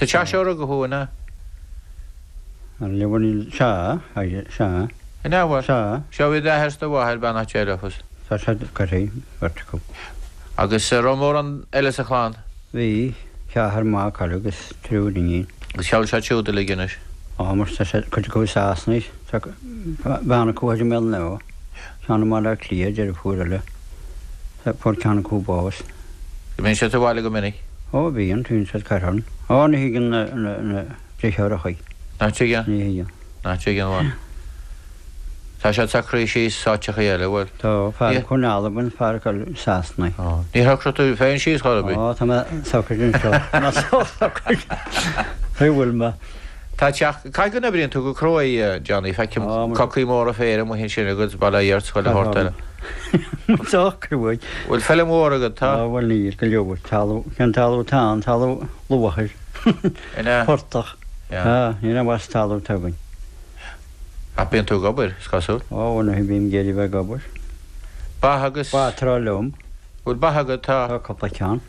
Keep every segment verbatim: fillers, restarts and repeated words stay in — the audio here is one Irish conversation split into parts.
Sa teach seo a rugadh thú, an ea? Bhuel níl, sea, sea. An ea, bhuel? Sea. Seo bhí d'athair is do mháthair, beannacht Dé leofa. Tá siad curtha, beirt acu. Agus an raibh mórán eile sa chlann? Bhí, ceathrar mac agus triúr iníon. Agus cá bhfuil siad siúd uilig anois? Á, mar tá siad, cuid acu i Sasana, tá bean acu i mBéal an Átha, ceann i mBaile Átha Cliath, deirfiúr eile, fuair ceann acu bás. An mbíonn siad sa bhaile go minic? Ó bíonn, bíonn siad curtha orm. Ó ní thuigeann na, na, na deartháireacha. Nach dtuigeann? Ní thuigeann. Nach dtuigeann, bhuel. Tá siad socraithe síos áiteachaí eile, bhuel. Tá, fear acu in Albain, fear acu i Sasana. Ó, níor shocraigh tú féin síos chor ar bith? Ó, tá mé socraithe anseo. Tá mé socraithe. Cé bhfuil mé? Tá teach, caithfidh go n-oibríonn tú go cruaidh, Johnny, feicim cocaí móra féir amuigh ansin agat, bail ó Dhia ort, 's chuile shórt eile. Tá cruaidh. Bhfuil feilm mhór agat, tá? Á bhuel níl, go leor. Talamh, cén talamh atá ann, talamh luachair. An ea? Portach. Yeah. Tá, níl aon mhaith sa talamh atá againn. Ach bíonn tú ag obair, is cosúil. Ó bhuel nuair a bhím ag iarraidh bheith ag obair. Ba agus. Ba tráth liom. Bhfuil ba agat, tá? Tá cúpla ceann.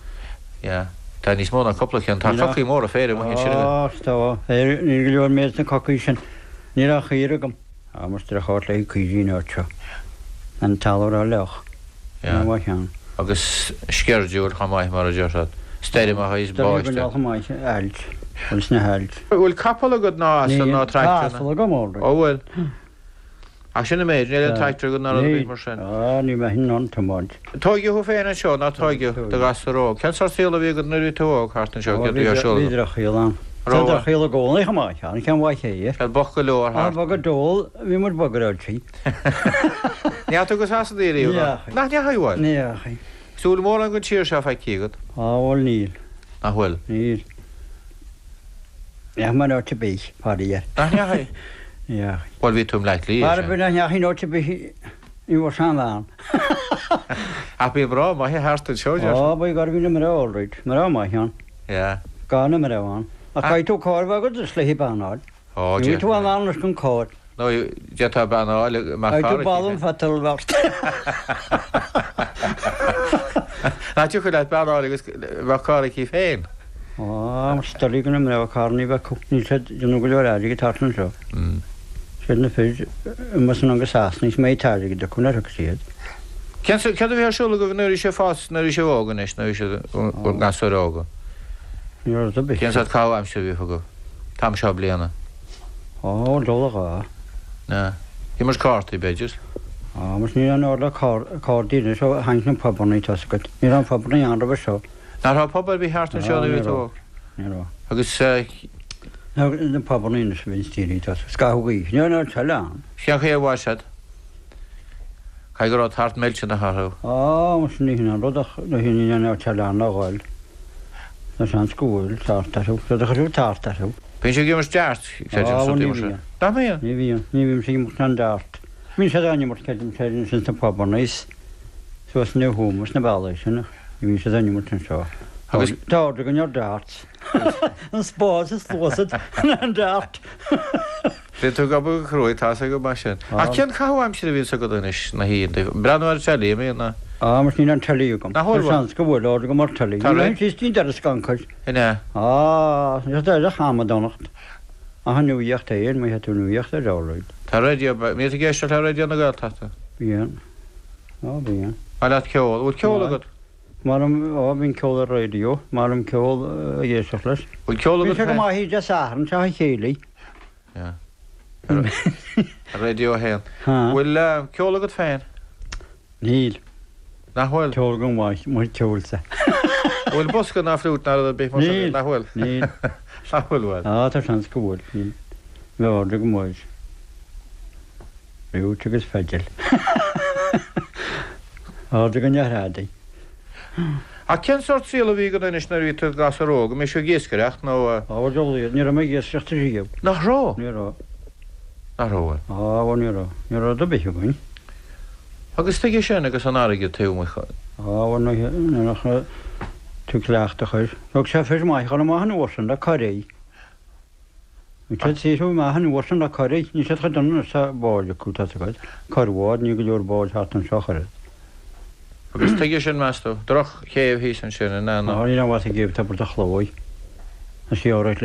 Yeah. Tá níos mó ná cúpla ceann, tá cocaí móra féir amuigh ansin agat. Á, tá, féar, níl go leor méid sna cocaí sin. Níl ach caora agam. Á, más droch-áit le caoirigh an áit seo. An talamh ró-fhliuch. Yeah. Ní mhaith ann. Agus sceirdiúil chomh maith, mar a déarfá. Stoirmeacha is Stoirm báisteach. chomh maith, ailt. Bhuel, sna hailt. Bhfuil capall agat ná asal Níl. ná Tá tractor? asal agam, all right. Ó, bhfuil. Ach sin an méid, níl aon Tá. tractor agat ná rud ar bith Níl. mar sin. Á, ní bheinn in ann tiomáint. Tóigeadh thú féin anseo, ná tóigeadh do ghasúr óg. Cén sórt saol a bhí agat nuair a bhí tú óg thart anseo, Ó, céard a bhí bhí ar siúl bhí agat? drochshaol ann. Tá Raibh. drochshaol i gcónaí chomh maith, an ceann mhaith é. Siad bocht go leor Á, thart. bog go dól, bhí muid bog ar fhoilsigh. Ní fhaca tú go Sasana riamh, Ní ná? fhaca. Nach ndeachaigh, bhuel? Ní fhaca. Is bhfuil mórán den tír seo feicthe agat? Á, bhuel, níl. Nach bhfuil? Níl. Ní fhaca mé in áit ar bith, faraor. Nach ndeachaigh? Ní fhaca. Bhuel, bhí tú i mBleá Cliath, Mar sin. bhí nach ndeachaigh in áit ar bith, ní bhfuair sé an bhean. Ach bíonn mná maithe thart anseo, deir Á, bhí gar bhí na mná all right. Mná maithe ann. Yeah. Gan na mná ann. Ach caithfidh tú carr a bheith agat is léi bean a fháil. Ó, Ní tú an bhean leis an carr. Nó d'fhéadfá bean a fháil mar Caithfidh carr tú balún fetal bheart. Nach dtiocfadh leat bean a fháil agus bheadh carr aici féin? Á, mar stoirí go na mná carranna bheith acu. Níl siad déanamh go leor airgid thart anseo. Mm. Siad na fir amuigh san agus Sasana is mé airgid acu nuair a thug siad. Cén céard a bhí ar siúl agaibh nuair a bhí sibh fás nuair a bhí sibh óg anois, nuair a bhí sibh bhur ngasúir óga? Ní raibh rud ar bith. Cén sórt caitheamh aimsire a bhíodh agaibh? T-am seo bliana. Á, dul a dhá. Na. Imirt cártaí, b'fhéidir. Á, mar ní raibh an ord le cártaí anois ó tháinig na pubanna tá a fhios agat. Ní raibh an pubanna ann roimhe seo. Nach raibh pub ar bith thart anseo Á, nuair a ní bhí tú raibh. óg? Ní raibh. Agus eh, Na na pubanna anois a bhí daoine tá scaitheamh gaoithe. Ní raibh an teile ann. cén chaoi a mhair siad? Caithfidh go raibh tart millteanach orthu. Á, mar sin ní hin an rud ach ní hin an teile ann a ghoil. Tá seans go bhfuil tart orthu. Rud a chuirfeadh tart orthu. Bíonn sé ag imirt dart, creidim, Á, bhuel, rudaí ní mar sin. bhíonn. Nach mbíonn? Ní bhíonn. Ní bhíonn sé ag imirt an dart. Bíonn siad á n-imirt creidim sé sin sna pubanna is suas na húmas na bealaí sin. Ní bhíonn siad á n-imirt anseo. Agus- Tá ord againn ar darts. An spás is luasad an dart. Bíonn tú ag obair go cruaidh, tá a fhios agam mar sin. Á. Ach cén caitheamh aimsire a bhíonns agat anois na hoícheanta? Breathnú ar an teilí, an mbíonn ná? Á, mar níl an teilí agam. Nach bhfuil, Tá seans go bhfuil ord agam ar teilí. Tá Ní ré- bhíonn síos dtí'n deireadh scancair. An ea? Á, is é hamadánacht. Ach an nuaíocht é, má tú nuaíocht ar all Tá raidió, mbíonn tú ag éisteacht le raidió na Gaeltachta? Bíonn. Á, bíonn. Maith leat ceol. Bhfuil ceol Maith. agat? Mar á bíonn ceol ar raidió, mar an ceol ag éisteacht leis. Bhfuil ceol Bhí agat sé go féin? maith de Satharn teach a chéile. Yeah. Ar raidió a haon. Ha. Bhfuil eh, ceol agat féin? Níl. Nach bhfuil? Ceol go maith, mu ceolsa. Bhfuil bosca ná fliúit ná rud ar bith mar sin? Níl. Nach bhfuil? Níl. Nach bhfuil bhuel? Á, tá seans go bhfuil. Níl. Bheith ord go maith. Fliúit agus feidil. Ord go neathrádaí. Ach cén sórt saol a bhí agat anois nuair a bhí tú gasúr óg? An mbíodh sibh ag iascaireacht nó... eh, Á, dul ní raibh mé ag iascaireacht riamh. Nach raibh? Ní raibh. Nach raibh bhuel. Á, bhuel, ní raibh. Ní raibh do bith againn. Agus tuige sin agus an airgead taobh amuigh. Á, bhuel, ní raibh tú cleachtadh chuir. Thug sé fir maith chun amach an uair sin le coirí. Bhí siad saothrú amach an uair sin le coirí. Ní siad chomh dona sa báid acu tá agat. Corrbhád, ní go leor báid thart anseo chuir. Agus tuige sin meas tú? Droch chéibh thíos ansin in Á, ná. ní raibh ag géibh tá a chlói. Na sióra le